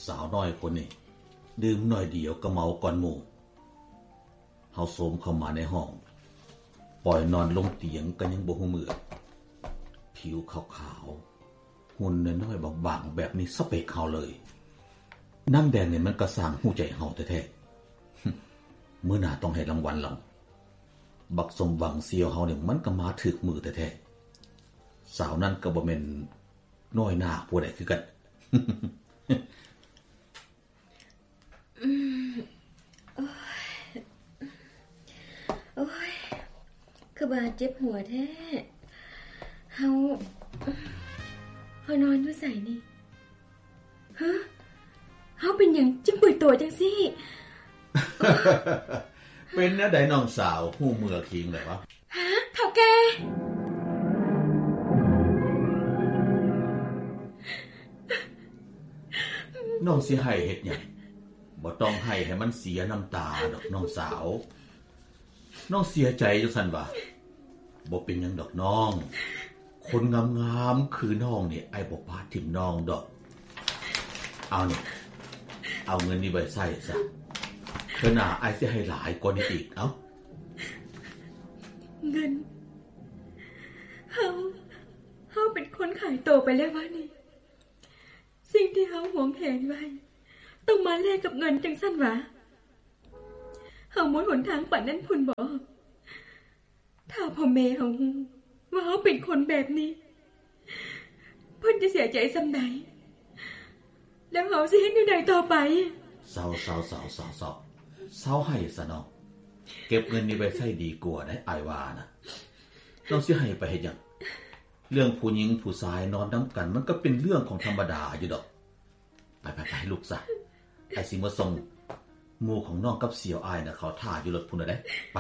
ສາວນ້ອຍຄົນນີ້ດື່ມໜ້ອຍດຽວກໍເມົາກ່ອນໝູ່. ເຮົາໂຊມເຂົ້າມາໃນຫ້ອງ, ປ່ອຍນອນລົງຕຽງກໍຍັງບໍ່ຮູ້ເມື່ອ. ຜິວຂາວໆ, ຫຸ່ນນ້ອຍໆບາງໆແບບນີ້ສະເປັກເຮົາເລີຍ. ນາງແດງນີ້ມັນກະຊ່າງຮູ້ໃຈເຮົາແທ້ໆ. ມື້ໜ້າຕ້ອງໃຫ້ລາງວັນລາວ. ບັກສົມຫວັງສ່ຽວເຮົານີ້ມັນກະມາຖືກມື້ແທ້ໆ. ສາວນັ້ນກະບໍ່ແມ່ນນ້ອຍໜ້າຜູ້ໃດຄືກັນ. ອືມ ໂອ້ຍ ໂອ້ຍ ຄືບາດເຈັບຫົວແທ້. ເຮົາ ເຮົານອນຢູ່ໃສນີ້? ຮະ? ເຮົາເປັນຫຍັງຈຶ່ງເປືອຍໂຕຈັ່ງຊີ້? ເປັນແນວໃດນ້ອງສາວ ຮູ້ເມື່ອຄີງແລ້ວວະ? ຮະ ເຖົ້າແກ່? ນ້ອງຊິໄຫ້ເຮັດຫຍັງ? ບໍ່ຕ້ອງໄຫ້ໃຫ້ມັນເສຍນ້ຳຕາດອກນ້ອງສາວ. ນ້ອງເສຍໃຈຈັ່ງຊັ້ນຫວາ? ບໍ່ເປັນຫຍັງດອກນ້ອງ. ຄົນງາມໆຄືນ້ອງນີ້ ອ້າຍບໍ່ປະຖິ້ມນ້ອງດອກ. ເອົານີ້ ເອົາເງິນນີ້ໄວ້ໃຊ້ຊະ. ເທື່ອໜ້າອ້າຍຊິໃຫ້ຫຼາຍກວ່ານີ້ອີກ. ເອົາ. ເງິນ? ເຮົາ ເຮົາເປັນຄົນຂາຍໂຕໄປແລ້ວຫວານີ້? ສິ່ງທີ່ເຮົາຫວງແຫນໄວ້ ຕ້ອງມາແລກກັບເງິນຈັ່ງຊັ້ນຫວາ? ເຮົາໝົດຫົນທາງປານນັ້ນພຸ້ນບໍ? ຖ້າພໍ່ແມ່ເຮົາຮູ້ວ່າເຮົາເປັນຄົນແບບນີ້ ເພິ່ນຈະເສຍໃຈສ່ຳໃດ? ແລ້ວເຮົາຊິເຮັດແນວໃດຕໍ່ໄປ? ເຊົາໆໆໆ ເຊົາໃຫ້ຊະນ້ອງ. ເກັບເງິນນີ້ໄວ້ໃຊ້ດີກວ່າໄດ໋ ອ້າຍວ່ານະ. ນ້ອງຊິໃຫ້ໄປເຮັດຫຍັງ? ເລື່ອງຜູ້ຍິງຜູ້ຊາຍນອນນຳກັນ ມັນກໍເປັນເລື່ອງຂອງທຳມະດາຢູ່ດອກ. ໄປໆໆ ລູກຊະ. ອ້າຍຊິມາສົ່ງ. ໝູ່ຂອງນ້ອງກັບສ່ຽວອ້າຍນະ ເຂົາຖ້າຢູ່ລົດພຸ້ນແຫຼະເດ້. ໄປ.